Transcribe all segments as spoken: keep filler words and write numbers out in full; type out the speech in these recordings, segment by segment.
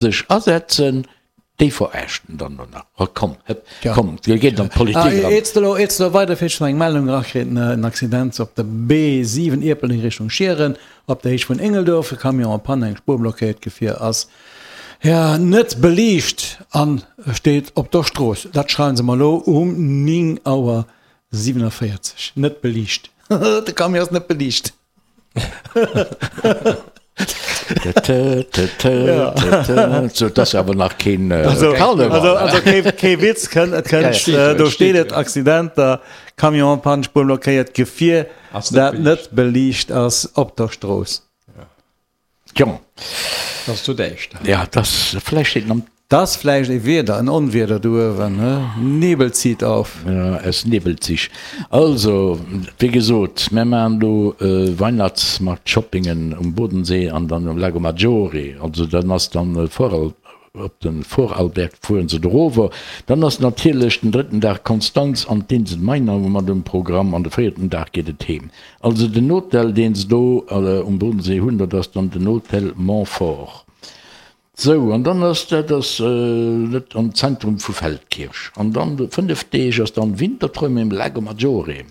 Sech asetzen, déi veräarscht en dann elo nach. Oh komm, hëpp, komm, dir geet an d'Politik eran. Iert de elo, iert de elo weiderfiers, ech hunn eng Meldung erakritt, en Accident op der B siwen Ierpeldeng Richtung Schieren, op der Héicht vun Ingelduerf, e Camion en panne, eng Spuer blockéiert, d'Gefier ass, jo, net beliicht an steet op der Strooss. Dat schreiwen se mer elo um néng Auer siwenavéierzeg. Net beliicht, de Camion ass net beliicht. So, dat ass awer nach keen Karneval. Also, also kee, kee Witz, kënnt, et kënnt, äh, do steet et, Accidenter, Camion en panne, Spuer blockéiert, Gefier, dat net beliicht ass op der Strooss. Jo. Dat ass zu däischter. Ja, dat ass, vläicht steet en am. Dat ass vläicht e Wieder, en Onwieder do uewen, he? Nebel zieht auf. Ja, es nebelt sich. Also, wéi gesot, mär maachen do Weihnachtsmarkt-Shoppingen um Bodensee an dann um Lago Maggiore. Also dann ass dann Voral, op de Vorarlberg fueren se dorower. Dann ass natierlech den drëtten Dag Konstanz an d'Insel Mainau mat um Programm an de véierten Dag geet et heem. Also den Hotel, deen se do um Bodensee hunn, dat ass dann den Hotel Montfort. Sou, an dann ass dat ass net am Zentrum vu Feldkirch. An dann fënnef Deeg ass dann Winterträume im Lago Maggiore,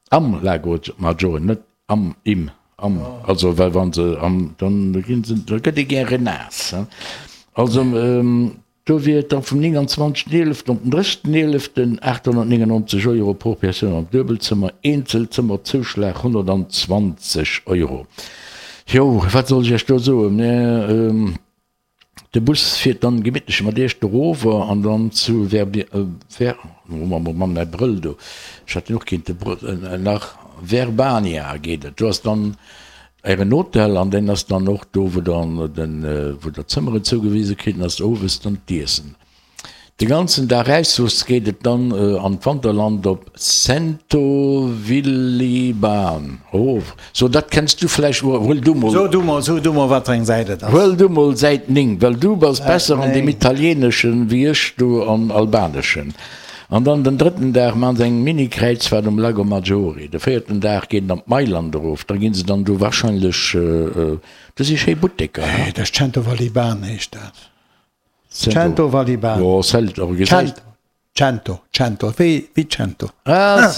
am Lago Maggiore, net am, im, am, also well wa se am, dann ginn se, da gëtt ee gäre naass, hein. Also do wier et da vum nénganzwanzegsten eeleften op den drëssigsten eeleften aathonnertnéngennonzeg Euro pro Persoun am Duebelzëmmer, Eenzelzëmmerzouschlag honnertanzwanzeg Euro. Jo, wat soll ech Iech do soen? Mä de Bus fiert dann gemittlech mat Iech dorower an dann zu Verbi, Ver, oh Mann, mäi Brëll do, ech hätt deen och kéinte nach, Verbania geet et. Do ass dann Ären Hotel an deen ass dann och do, wou der den, wou der Zëmmeren zougewise kritt, an ass owes dann d'Iessen. De ganzen Dag Räissoss geet et dann an d'Wanterland op Centovilliban. Oh, so dat kenns du vläicht, huel du mol. So du mol, so du mol wat fir eng Säit et ass. Huel du mol Säit néng, well du bass besser an deem Italieneschen wéi ech do am Albaneschen. An dann den drëtten Dag maachen se eng Mini-Kräizfahrt um Lago Maggiore. De véierten Dag geet et an d'Mailand erof, da ginn se dann do wahrscheinlech, do si schéi Butteker, he? Dat ass Centovalliban heescht dat. Cento Valibano. Jo, Celt, awer gesäis. Cento, Cento, wéi, wéi Cento. Ah,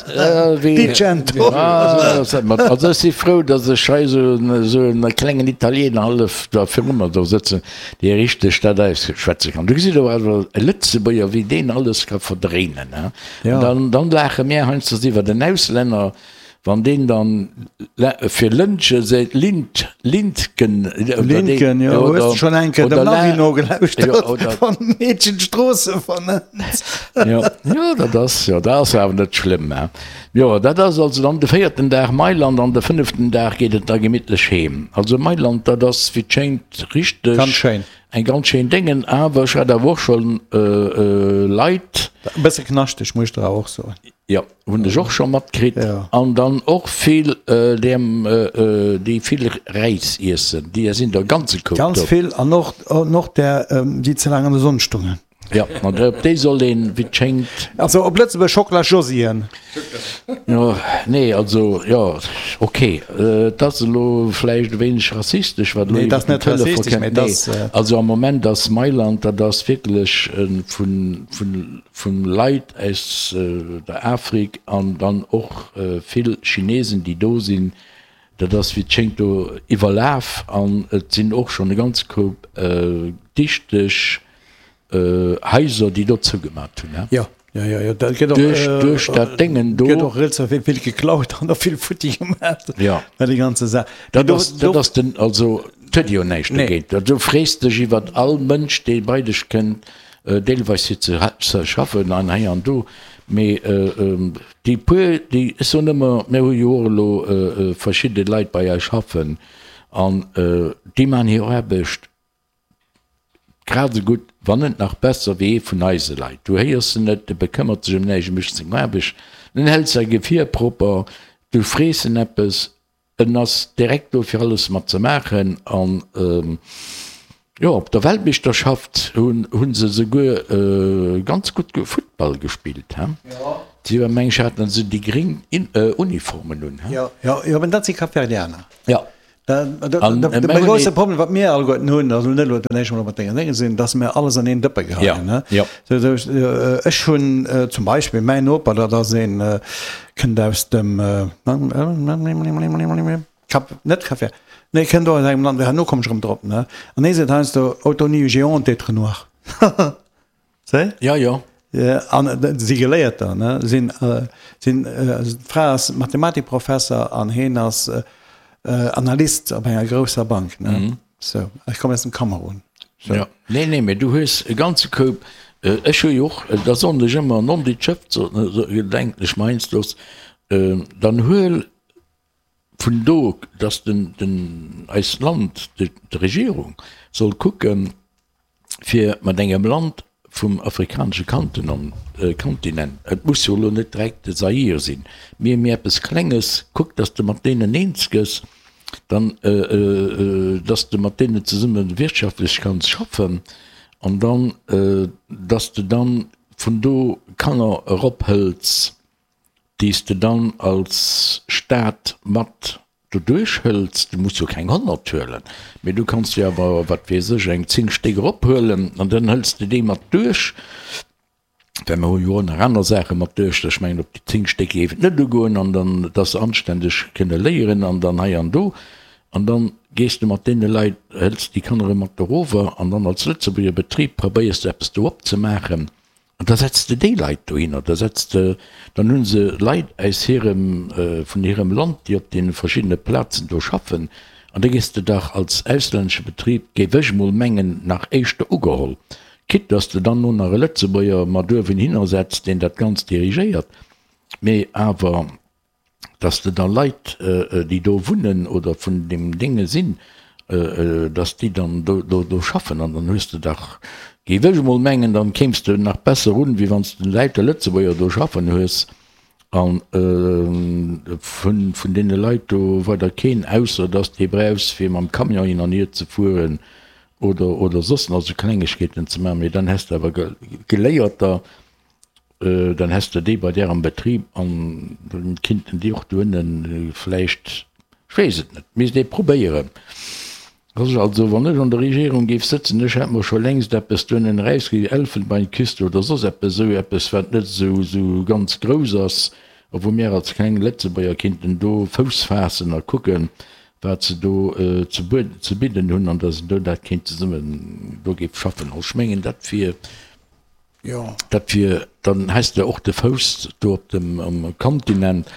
wéi. Di Cento. Ah, also ech si frou, datt ech hei esou en, esou en klengen Italiener hallef da viru mer do sëtzen, dee richteg dat ausschwätze kann. Du gesitt awer awer e Lëtzebuerger, wéi deen alles ka verdréinen, hein. Ja. Dann, dann laache mär heiansdo iwwer den Auslänner. Wann deen dann fir Lëntge seet, Lint, Lintgen, Lintgen, jo, hues de schonn eng Kéier dem Navi nogelauschtert, wann d'Meedchen d'Stroosse vernennt? Jo, jo, dat ass, jo, dat ass awer net schlëmm, hein. Jo, dat ass also dann de véierten Dag Mailand an de fënneften Dag geet et da gemittlech heem. Also Mailand, dat ass, wéi et schéngt, richteg. Ganz schéin. Eng ganz schéin Déngen, awer ech hat awer och schonn Leit. E bësse knaschteg, muss ech der awer och soen. Jo, hunn ech och scho matkritt. Ja. An dann och vill deem, déi vill Räis iessen, déi sinn der ganze Koup Ganz do. vill an och, an och där, déi ze laang an der Sonn stungen. Jo, an op déi soll een, wéi et schéngt. Also op Lëtzebuerg Schocklasjosien. Jo, nee, also, jo, ok, et ass elo vläicht e wéineg rassistesch, wat elo Nee, et ass iwwer den net Telefon rassistesch, kënnt. mee et Nee, ass. also am Moment ass Mailand, dat ass wierklech vun, vun, Vun Leit aus der Afrik an dann och vill Chinesen déi do sinn. Dat ass wéi et schéngt do iwwerlaf an et sinn och schonn e ganze Koup dichteg Haiser déi do zougemat hunn. Jo, jo, jo, jo, dat gëtt och Duerch, duerch dat Déngen do. Gëtt och relativ vill geklaut an och vill futti gemat. Jo. Bei déi ganze Saach. Dat ass, dat ass den, also et huet jo näischt dogéint. Du frees dech iwwert all Mënsch dee bei dech kënnt. Deelweis fir ze schaffen an hei an do, mee déi puer, déi, ech soen ëmmer, mir hu jo och elo verschidde Leit bei eis schaffen an déi maachen hir Aarbecht grad esou gutt, wann net nach besser wéi ee vun eise Leit. Du héiers en net, e bekëmmert sech ëm näischt, e mécht seng Aarbecht, en hält säi Gefier propper, du frees en eppes, En ass direkt do fir alles mat ze maachen an jo op der Weltmeeschterschaft hunn hunn se souguer ganz gutt Futtball gespillt he. Si war meng ech haten se déi gréng Uniformen un he. Jo jo jo, mä dat si Kapverdianer. Jo. De grousse Problem, wat mir alleguerten hunn, also net elo den éischte Mol mat denger Dénge sinn, dass mir alles an een Dëppe geheien. Ne? Ja, ja. Ech hunn zum Beispill mäin Noper, dat ass een, kënnt aus dem Cap, net Cap Vert, nee, kënnt och aus engem Land, herno komm ech erëm drop, ne? An hie seet heiansdo, Auto ni, j'ai honte d'être noir. Se? Ja, jo. An si Geléierter, ne? Sinn, sinn, d'Fra ass Mathematikprofesser an hien ass Analyst op enger grousser Bank, ne? Sou, ech kommen aus dem Kamerun. Sou. Ja, nee, nee, mee du hues e ganze Koup, ech hu jo och, da soen ech ëmmer, non dit Schëff, denken ech mer heiansdo, dann huel vun do, dass den, den, eist Land, d'Regierung soll kucken, fir mat engem Land vum afrikanesche Kontinent, et muss jo elo net direkt de Zaire sinn, mee mee eppes Klenges, kuck, dass de mat deenen eens gëss, dann, dass de mat deenen zesumme wirtschaftlech kanns schaffen an dann, dass de dann vun do Kanner erophëls, déi s de dann als Staat mat doduerch hëls. Du muss jo keng honnert huelen, mee du kanns jo awer, wat weess ech, eng zéng Stéck erophuelen an dann hëls de déi mat duerch, well mer hu jo och nach aner Saache mat duerch. Ech mengen, op déi zéng Stéck géif et net ugoen an dann, dass se anständeg kënne léieren an dann hei an do. An dann gees de mat deene Leit, hëls déi Kanner erëm mat erover an dann als Lëtzebuerger Betrib probéiers de eppes do opzemaachen. An da setz de déi Leit dohinner, da setz de, dann hu se Leit aus hirem, vun hirem Land, déi op deene verschiddene Plazen do schaffen, an da géss de dach als auslännesche Betrib, géif ech emol mengen, nach éischter ugeholl, quitte dass de dann no nach e Lëtzebuerger mat uewen hinner setz, deen dat Ganzt dirigéiert, mee awer. dass de da Leit, déi do wunnen oder vun deem Dénge sinn, dass déi dann do do schaffen. An dann hues de dach, géif ech emol mengen, dann kéims de nach besser un, wéi wann s de lauter Lëtzebuerger do schaffen hues a vun vun deene Leit do weider keen, ausser dass de brauchs fir mam Camion hin an hier ze fueren oder oder soss nach esou Klengegkeeten ze maachen. Mee dann häss de awer Geléierter, Dann häss de déi bei där am Betrib an dann kinnten déi och doënnen vläicht, ech weess et net, misst ee probéieren. Also wann ech an der Regierung géif sëtzen, ech hätt mer scho längst eppes doënnen erausgekritt, Elfenbeinküste oder soss eppes, esou eppes wat net esou esou ganz grouss ass a wou mir als kleng Lëtzebuerger kinnten do Fouss faassen a kucken, wat se do ze ze bidden hunn an datt een do dat kéint zesummen do géif schaffen. Also ech mengen dat wier. Jo. Dat wier, dann häss de och de Fouss do op dem um Kontinent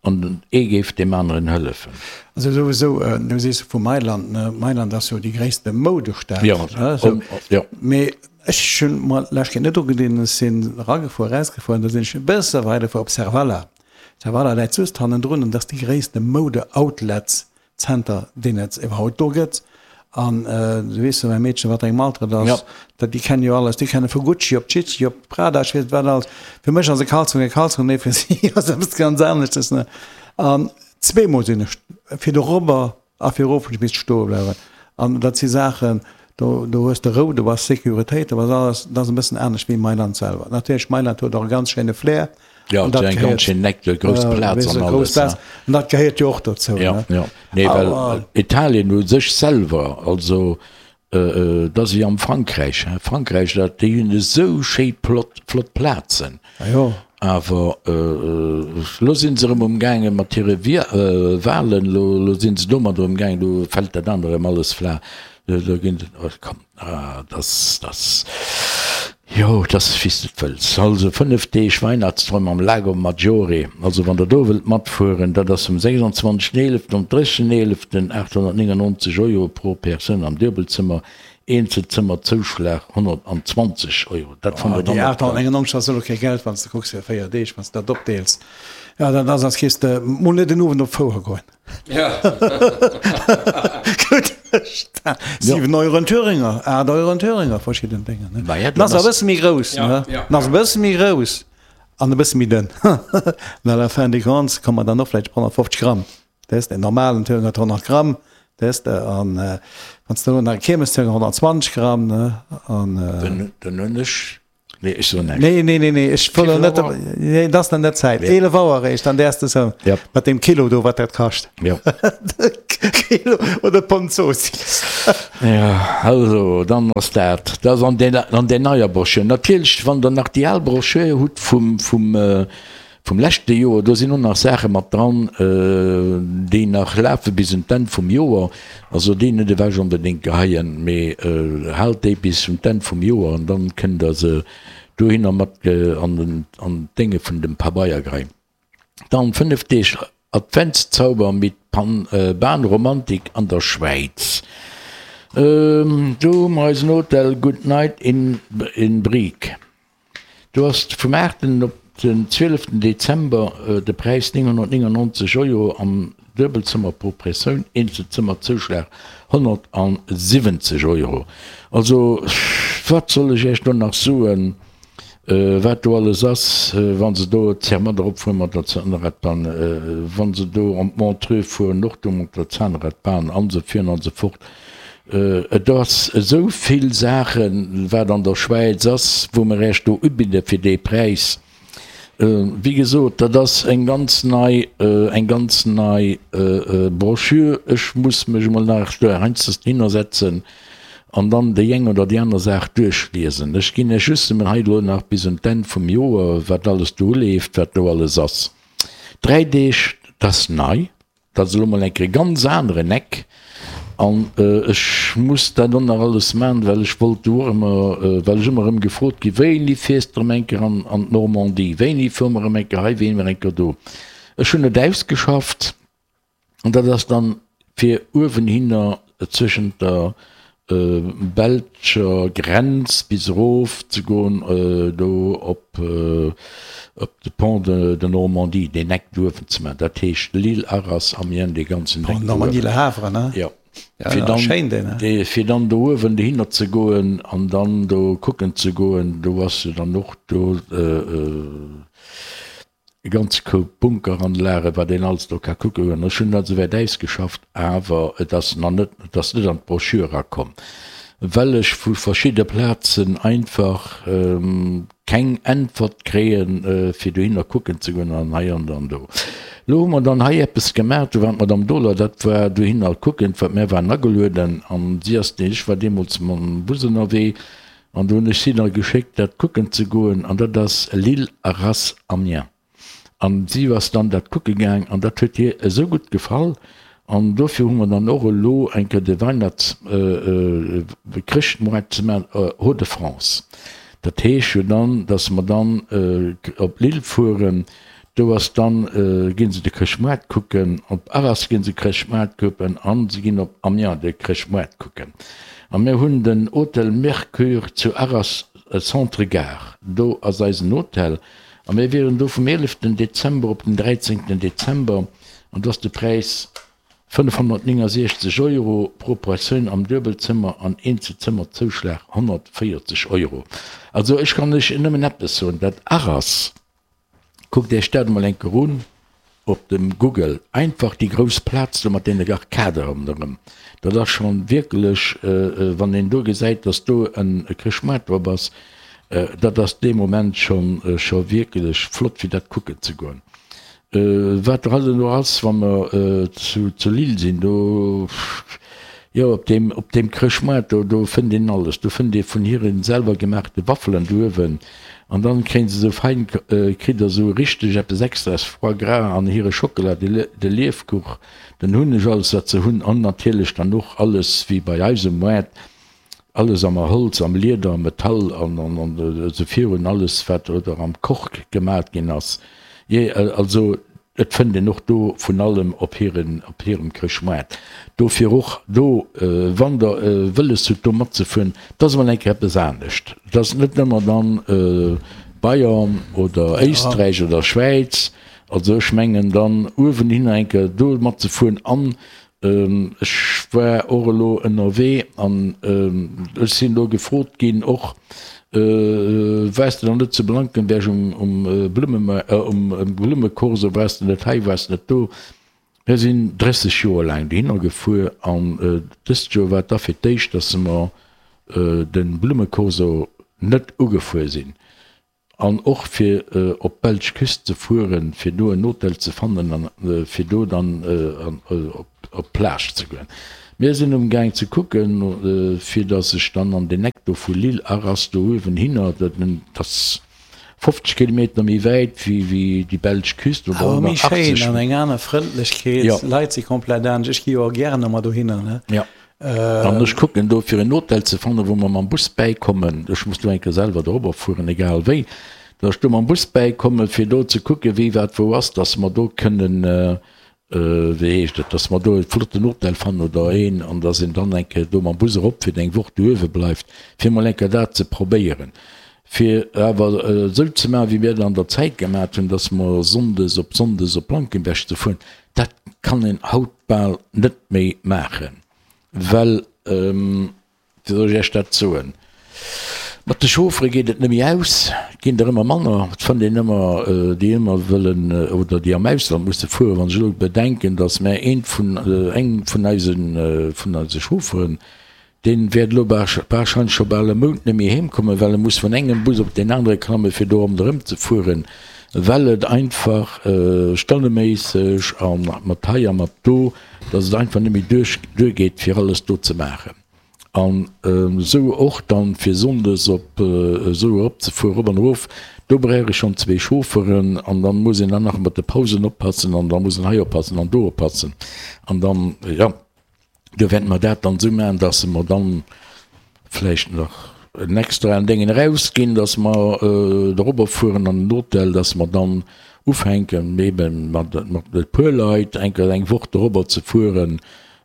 an ee géif deem aneren hëllefen. Also souwisou, du sees vu Mailand, ne, Mailand ass jo déi gréisste Moudestad, Jo, ne, sou. jo. Mee ech hunn mer d'lescht Kéier net ugedinn, ech sinn eragefuer, erausgefuer an da sinn ech e bësse weidergefuer op Serravalle. Serravalle läit just hannendrun an dat ass déi gréisste Moude-Outlets Zenter, deen et iwwerhaupt do gëtt. An du weess jo, mäi Meedchen, wat engem Alter et ass, dat, déi kennen jo alles, déi kenne vu Gucci op Chicci op Prada, ech weess net wat alles. Fir mech ass e Kalzong e Kalzong, mee fir si ass eppes ganz aneschtes, ne. An zweemol sinn ech fir dorobber a fir erof hunn ech misste stoe bleiwen. An dat si Saachen, do, do hues de Rou, do ass Sécuritéit, do ass alles, dat ass e bëssen anescht wéi Mailand selwer. Natierlech, Mailand huet och e ganz schéine Flair. Ja, dat eng ganz schön Eck, eng grouss Plaz an alles. Plaz. An dat gehéiert jo och dozou. Ja, ja. Nee, well Italien u sech selwer, also äh, dat ass wéi am Frankräich. Hein. Frankräich, dat, déi hunn esou schéi plott, flott Plazen. Ah, jo. Awer äh, lo sinn se erëm umgaange mat hire äh, Wahlen, lo, lo sinn se domat erëm gaangen, do fält dat anere erëm alles flaach. Do ginn, oh, komm, ah, das, das. Jo, et ass wéi s de et wëlls. Also fënnef Deeg Weihnachtsträum am Lago Maggiore. Also wann der do wëllt matfueren, dat ass vum sechsundzwanzegsten eeleften op dréissegsten eeleften, aathonnertnéngennonzeg Euro pro Persoun am Duebelzëmmer, Eenzelzëmmerzouschlag honnertanzwanzeg Euro. Dat fannt der Déi dann op der. aathonnertnéngennonzeg ass elo kee Geld, wann s de kucks fir véier Deeg, wann s de dat opdeels. Jo, dat ass als kéis de mol net en Owend op d'Fouer goen. Gutt, siwen Euro en Thüringer, aacht Euro en Thüringer, verschidden Dénger, ne? Maja, En ass dann e bësse méi grouss, ne? En ass e bësse méi grouss an e bësse méi dënn. An à la fin des comptes komme mer dann och vläicht op honnertfofzeg Gramm. Weess de, en normalen Thüringer huet honnert Gramm, weess de, an wann s de elo nach e Kiermesthüringer, honnertzwanzeg Gramm, ne? An. Dann hunn ech Nee, ech soen näischt. Nee, nee, nee, nee, ech wëll Wéivill net, Auer? nee, dat ass dann net Zäit. eelef Auer eréischt, dann däers de soen. Ja. Mat deem Kilo do, wat dat kascht. Ja. Kilo oder Pond Zoossiss. Ja, also, dann ass dat. Dat ass an där, an där neier Broschür. Natierlech, wann Der nach déi al Broschür hutt vum, vum, vum leschte Joer, do sinn och nach Saache mat dran, déi nach lafe bis un d'Enn vum Joer. Also déi net ewech onbedéngt geheien, mee haalt déi bis un d'Enn vum Joer an dann kënnt Der se dohinner mat an den, an d'Dénge vun dem Pabeier geheien. Dann fënnef Deeg Adventszauber mit Bahnromantik an der Schwäiz. Do hu mer eisen Hotel Good Night in Brig. Do ass vum aachten op den zwieleften Dezember de Präis nénghonnertnéngannonzeg Euro am Duebelzëmmer pro Persoun, Eenzelzëmmerzouschlag honnertsiwwenzeg Euro. Also wat soll ech Iech do nach soen, wat do alles ass, wa se do Zermatt eropfuere mat der Zahnradbahn, wa se do an d'Montreux fueren, och do mat der Zahnradbahn an esou virun an esou fort. Et ass esou vill Saachen, wat an der Schwäiz ass, wou mer Iech do ubidde fir dee Präis. Wéi gesot, dat ass eng ganz nei, eng ganz nei Broschür. Ech muss mech emol nach do heiansdo hinnersetzen an dann déi eng oder déi aner Saach duerchliesen. Ech ginn Iech just emol hei elo nach bis un d'Enn vum Joer, wat alles do uleeft, wat do alles ass. Dräi Deeg, dat ass nei. Dat ass elo mol eng Kéier e ganz aneren Eck an ech muss dat och nach alles maachen, well ech wollt do och ëmmer, well ech ëmmer erëm gefrot ginn, Wéini fiers de erëm eng Kéier an an d'Normandie, wéini fuere mer erëm eng Kéier hei, wéini erëm eng Kéier do? Ech hunn et ausgeschafft an dat ass dann fir uewenhinner zwëschent der belscher Grenz bis erof ze goen, do op de Pont de Normandie, deen Eck do uewen ze maachen. Dat heescht Lille, Arras, Amiens, dee ganzen Eck Pont do Normandie, uewen. Le Havre, ne? Jo. Ja, Fir ja, dann, schéin deen, ne? dee, fir dann do uewen dohinner ze goen an dann do kucken ze goen, do ass jo dann och do, E ganze Koup Bunkeranlagen, wat een alles do ka kucke goen. Ech hunn dat esouwäit ausgeschafft, awer et ass nach net, et ass net an d'Broschür erakomm, well ech vu verschidde Plazen einfach keng Äntwert kréien, fir dohinner kucken ze goen an hei an dann do. Elo hu mer dann hei eppes gemaach, do war d'Madame Dohler, dat war dohinner kucken, wat mär waren agelueden an si ass, ech war deemools mam Bus ënnerwee, An do hunn ech si da geschéckt, dat kucken ze goen, an dat ass Lille, Arras, Amiens. An si ass dann dat kucke gaang, an dat huet hir esou gutt gefall, an dofir hu mer dann och elo eng Kéier de Weihnachts-, Chrëschtmoart ze maachen, Hauts-de-France. Dat heescht jo dann, datt mer dann op Lille fueren, Do ass dann, ginn se de Chrëschtmoart kucken, op Arras ginn se Chrëschtmoart kucken an se ginn op Amiens de Chrëschtmoart kucken. A mir hunn den Hotel Mercure zu Arras Centre Gare, do ass eisen Hotel a mir wieren do vum eeleften Dezember op den dräizéngten Dezember an do ass de Präis fënnefhonnertnéngasiechzeg Euro pro Persoun am Duebelzëmmer an Eenzelzëmmerzouschlag honnertvéierzeg Euro. Also ech kann lech nëmmen eppes soen, dat Arras, Kuckt Iech dat emol eng Kéier un op dem Google, einfach déi grouss Plaz do mat deene Arcade ronderëm, dat ass schonn wierklech, wann een do gesäit, dass do e Chrëschtmaart drop ass, dat ass dee Moment schonn scho wierklech flott fir dat kucken ze goen. Wat halt elo ass, wa mer zu Lille sinn, do, jo, op deem, op deem Chrëschtmaart do, do fënnt een alles. Do fënnt ee vun hire selwer gemaachte Waffelen do uewen. An dann kréien se esou fein, kritt der esou richteg eppes Extraes, Foie gras an hire Schockela, de Liefkuch, den Hunneg, alles wat se hunn. An natierlech dann och alles wéi bei eis um Moart, Alles am Holz, am Lieder, am Metall an esou virun, alles wat oder am Kork gemat ginn ass. Jee, also et fënnt een och do vun allem op hiren, op hirem Chrëschtmoart. Dofir och do, wann der wëlles hutt do matzefueren, et ass emol eng Kéier eppes anescht. Et ass net ëmmer dann Bayern oder Éisträich oder Schwäiz. Also ech mengen dann uewenhinner eng Kéier do matzefueren an Ech war och elo ënnerwee an ech sinn elo gefrot ginn och, Waars de dann net zu Blankenberg um Blummecorso, waars de net hei, waars de net do? Mir sinn drësseg Joer laang dohinner gefuer an dëst Joer war et da fir d'éischt, datt mer de Blummecorso net ugefuer sinn. An och fir op d'belsch Küst ze fueren, fir do en Hotel ze fannen an fir do dann op d'Plage ze goen. Mir sinn umgaang ze kucken, fir datt ech dann an deen Eck do vu Lille, Arras do uewen hinner, dat ass fofzeg Kilometer méi wäit wéi déi belsch Küst oder Awer méi schéin an eng aner Frëndlechkeet, d'Leit si komplett anescht. Ech gi jo och gären ëmmer dohinner, ne? Jo. An ech kucken do fir en Hotel ze fannen, wou mer mam Bus bäikommen. Ech muss do eng Kéier selwer dorobber fueren, egal wéi, datt ech do mam Bus bäikommen, fir do ze kucken, wéi wat wou ass, datt mer do kënnen, wéi heescht et, datt mer do e flotten Hotel fannen oder een, an datt een dann eng Kéier do mam Bus erop fir eng Woch do uewe bleift, fir emol eng Kéier dat ze probéieren. Fir awer esou ze maachen, wéi mir et an der Zäit gemaat hunn, datt mer sonndes op sonndes op Blankenberg ze fueren, dat kann een haut bal net méi maachen. Well, wéi soll ech Iech dat soen, mat de Chauffere geet et net méi aus, et ginn der ëmmer manner, et fënnt een ëmmer déi ëmmer wëllen oder déi am Ausland musse fueren. Wann ech elo bedenken, datt mär eent vun, eng vun eisen, vun eise Chaufferen, dee wäert elo warscheinlech scho bal e Mount net méi heem kommen, well e muss vun engem Bus op deen anere klammen, fir do ronderëm ze fueren, well et einfach stonneméisseg a mat hei a mat do, datt et einfach net méi duerch duergeet, fir alles do ze maachen. An esou och dann, fir sonndes op esou eropzefueren, erop an erof, do brauch ee schonn zwee Chaufferen an dann muss een dann nach mat de Pausen oppassen an da muss een hei oppassen an do oppassen an dann, jo. Do wäerte mer dat dann esou maachen, dass mer dann vläicht nach en extraen Déngen erausginn, dass mer dorobber fueren an den Hotel, dass mer dann ufänken ebe mat e puer Leit eng Kéier eng Woch dorobber ze fueren,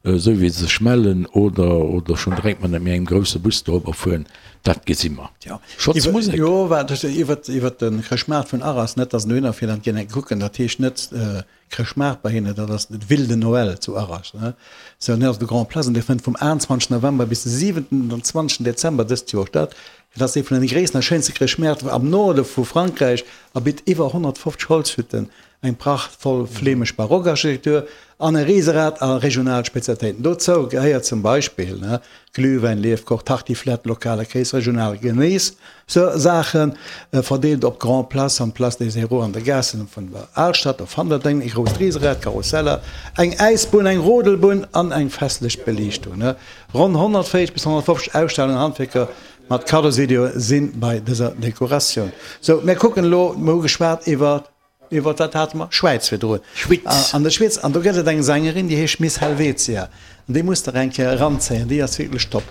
esou wéi se sech mellen, oder oder schonn direkt mat engem grousse Bus dorobber fueren. Dat gesi mer. Schotz Musek. Jo, wat iwwert de Chrëschtmaart vun Arras, net dass en dohinner fiert an d'ginn eng kucken, dat heescht net, Chrëschtmaart bei hinnen, dat ass de Ville de Noël zu Arras, ne? Sou, an dat ass op der Grand Place an dee fënnt vum achtenzwanzegsten November bis de siwenundzwanzegsten Dezember dëst Joer statt. Et ass ee vun den gréissten a schéinste Chrëschtmäert am Norde vu Frankräich a bitt iwwer honnertfofzeg Holzhütten, eng prachtvoll flämesch Barockarchitektur an e Riserad a regional Spezialitéiten. Dozou gehéiert zum Beispill, ne, Glühwäin, Liefkoch, Tartiflette, lokale Kéis, regional Geméis. Sou Saachen, verdeelt op d'Grand Place an d'Place des Héros an de Gaassen vun der Alstad, do fannt der deng, e grousst Riserad, Karusseller, eng Äisbunn, eng Rodelbunn an eng festlech Beliichtung. Ronn honnertvéierzeg bis honnertfofzeg Ausstellungen an Handwierker mat Kaddosidioe si bei dëser Dekoratioun. Sou, mir kucken elo, mir hu geschwat iwwer, iwwer wat hate mer? Schwäiz virdrun. Schwyz. An der Schwyz, an do gëtt et eng Sängerin, déi heescht Miss Helvetia an déi musst der eng Kéier eranzéien, déi ass wierklech top.